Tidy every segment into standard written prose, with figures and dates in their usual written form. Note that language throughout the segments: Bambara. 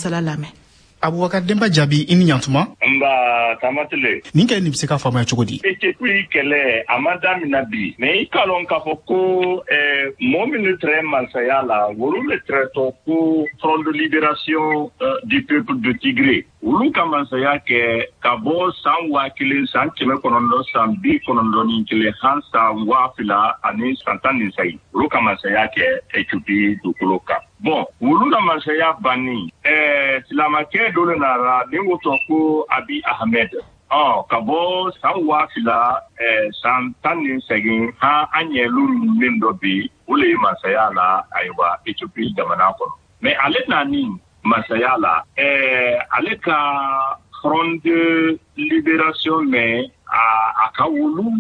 Masala lamɛn. Abubakar Denba Jaabi, i ni ɲantuma. Nba, Tamatile. Nin kɛlɛ nin bɛ se ka faamuya cogo di? Ethiopie kɛlɛ, a ma damina bi, mais i k'a lɔn k'a fɔ ko mɔgɔ minnu tɛrɛ mansaya la, olu le tɛrɛ tɔ ko Front de libération du peuple de Tigré. Olu ka mansaya kɛ ka bɔ san 1991 han san 2018. Olu ka mansaya kɛ Ethiopie dugukolo kan. Bon, olu la mansaya banni, silamakɛ dɔ le nara min ko tɔ ko Abiy Ahmed. Ɔ ka bɔ san 2018 han, an ɲɛlu min dɔ bi, o le ye mansaya la, ayiwa, Ethiopie jamana kɔnɔ. Mais ale nani masaya la, ale ka Front de libération, mais a ka wolu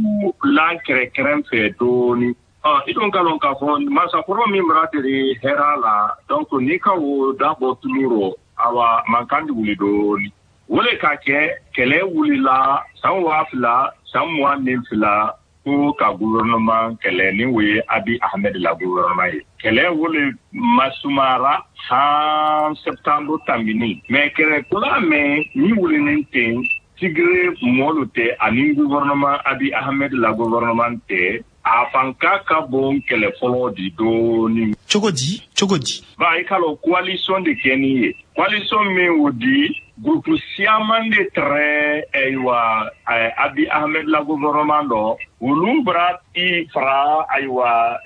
la kɛrɛkɛrɛn fɛ dɔɔni. Ɔ i dun ka lɔn k'a fɔ masakɔrɔ min bara deri hɛrɛ la, donc n'i ka wo da bɔ tulu rɔ, awa, mankan di wuli dɔɔni. O le ka kɛ kɛlɛ wulila san 2022 ko ka gouvernement kɛlɛ, ni o ye Abiy Ahmed la gouvernement ye. Kɛlɛ wo le masumara han septembre tambini. Mais kɛlɛ kura mɛn ni wulinen ten, Tigré mɔlu tɛ ani gouvernement, Abiy Ahmed la gouvernement tɛ. A fanka ka bon kɛlɛ fɔlɔ di dɔɔni. Cogo di, cogo di? Ba, i ka lɔn, coalition de kɛ ni ye, coalition min o di groupe siaman de tɛrɛ, ayiwa, Abiy Ahmed la gouvernement dɔ. Olu bara i fara, ayiwa,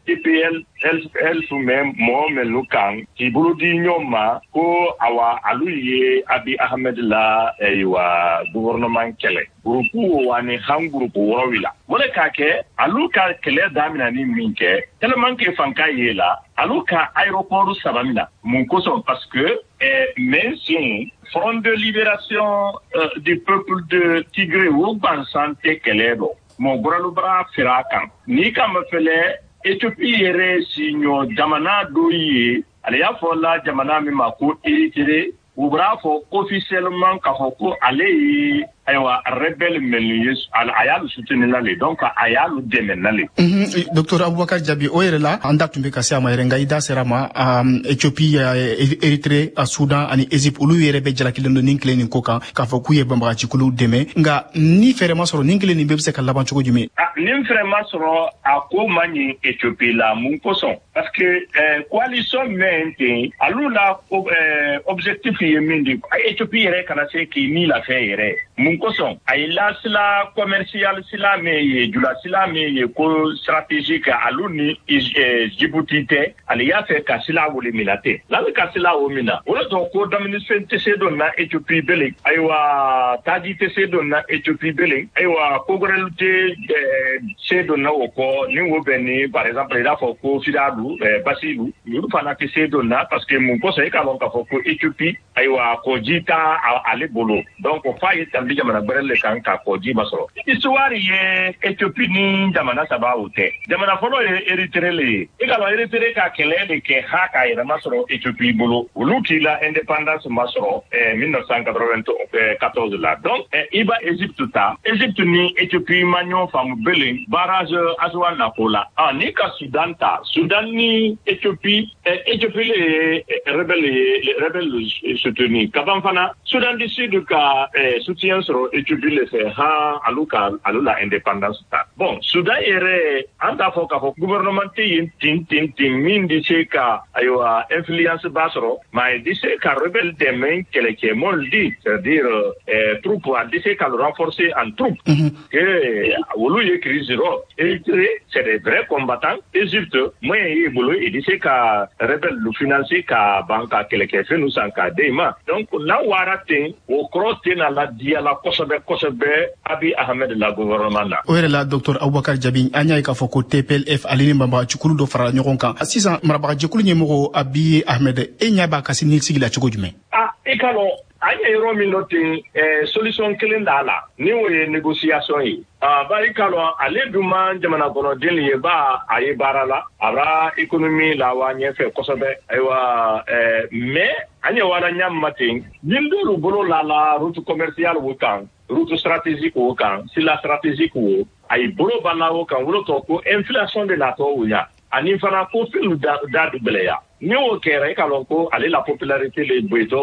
TPLF mɛ mɔgɔ mɛnu kan k'i bolo di ɲɔgɔn ma ko awa, alu ye Abiy Ahmed la, ayiwa, gouvernement kɛlɛ. Groupe wo ani han groupe wɔɔrɔ la, o le k'a kɛ alu ka kɛlɛ daminɛ ni min kɛ, tellement que fanka ye la, alu ka aéroport saba mina. Mun kosɔn? Parce que mɛ sen Front de libération du peuple de Tigré o gansan tɛ kɛlɛ dɔ, mɔgɔ gbɛrɛlu bara fere a kan. N'i ka mafɛlɛ, Ethiopie yɛrɛ siɲɔ jamana dɔ ye, ale y'a fɔ la jamana min ma ko Érythrée, u b'a fɔ officiellement k'a fɔ ko ale ye, ayiwa, rebelle minnu ye, a y'alu soutenir la le, donc a y'alu dɛmɛ na le. Docteur Abubakar Jabi, o yɛrɛ la, an da tun bɛ ka se a ma yɛrɛ, nka i da sera ma. Ethiopie, Érythrée, Soudan ani Égypte, olu yɛrɛ bɛ jalakilen don nin kelen nin ko kan k'a fɔ k'u ye banbagacikuluw dɛmɛ. Nka ni fɛɛrɛ ma sɔrɔ, nin kelen nin bɛɛ bɛ se ka laban cogo jumɛn? Ni fɛɛrɛ ma sɔrɔ, a ko man ɲi Ethiopie la. Mun kosɔn? Parce que coalition mɛn ten, alu la objectif ye min di, Ethiopie yɛrɛ kana se k'i ni lafɛ yɛrɛ. Mun kosɔn? A ye la sila commercial sila min ye, jula sila min ye ko stratégique alu ni Djibouti tɛ, ale y'a fɛ ka sila wole mina ten. N'ale ka sila o mina, o de tɔgɔ ko daminifɛn tɛ se don na Ethiopie bele, ayiwa, taji tɛ se don na Ethiopie bele, ayiwa, ko wɛrɛlu tɛ se don na o kɔ ni wo bɛ ni, par exemple, i n'a fɔ ko filalu, basilu, olu fana tɛ se don na. Parce que mun kosɔn? E k'a lɔn k'a fɔ ko Ethiopie, ayiwa, kɔji t'a ale bolo, donc f'a ye tanbi jamana gbɛrɛ le kan ka kɔji ma sɔrɔ. Histoire ye Ethiopie ni jamana saba o tɛ. Jamana fɔlɔ ye Érythrée le ye. I k'a lɔn, Érythrée ka kɛlɛ de kɛ ha k'a yɛrɛ masɔrɔ Ethiopie bolo. Olu k'i la indépendance masɔrɔ 1994 la. Donc i ba Égypte ta, Égypte ni Ethiopie ma ɲɔgɔn faamu belen barrage Aswan na ko la. Ah, n'i ka Soudan ta, Soudan ni Ethiopie, Ethiopie le ye rebelle ye, rebelle soutenu kaban fana. Soudan du Sud ka soutien sɔrɔ Ethiopie le fɛ han alu ka alu la indépendance ta. Bon, Soudan yɛrɛ, an t'a fɔ k'a fɔ gouvernement tɛ yen ten ten ten min di se ka, ayiwa, influence ba sɔrɔ, mais di se ka rebelle dɛmɛ kɛlɛkɛ mɔli di, c'est-à-dire troupe, a di se ka le renforcer en troupe que olu ye crise rɔ. Érythrée, c'est des vrais combattants. Égypte, moyen y'i bolo, i di se ka rebelle lu financer ka ban ka kɛlɛkɛfɛn nu san k'a den ma. Donc n'a wara ten, o kɔrɔ tɛna la diya la kosɛbɛ kosɛbɛ Abiy Ahmed la gouvernement na. O yɛrɛ la, docteur Abubakar Jabi, an y'a ye k'a fɔ ko TPLF ale ni banbagacikulu dɔ farala ɲɔgɔn kan. Sisan marabagajɛkulu ɲɛmɔgɔ Abiy Ahmed, e ɲɛ b'a ka siniɲɛsigi la cogo jumɛn? Ah, i ka lɔn, an ye yɔrɔ min dɔ ten, solution kelen d'a la, ni o ye négociation ye. Ah, bari ka lɔn, ale dun ma jamana kɔnɔden ye ba, a ye baara la, a b'a économie la wa ɲɛfɛ kosɛbɛ, ayiwa, mais an ye wara ɲa ma ten, ni dɔw bolo la la route commerciale wo kan, route stratégique wo kan, sila stratégique wo, a ye bolo ba la o kan, wolo tɔ ko inflation de natɔ o ɲa, ani fana ko fɛnw da da gbɛlɛya. Ni o kɛra, i ka lɔn ko ale la popularité le boyitɔ.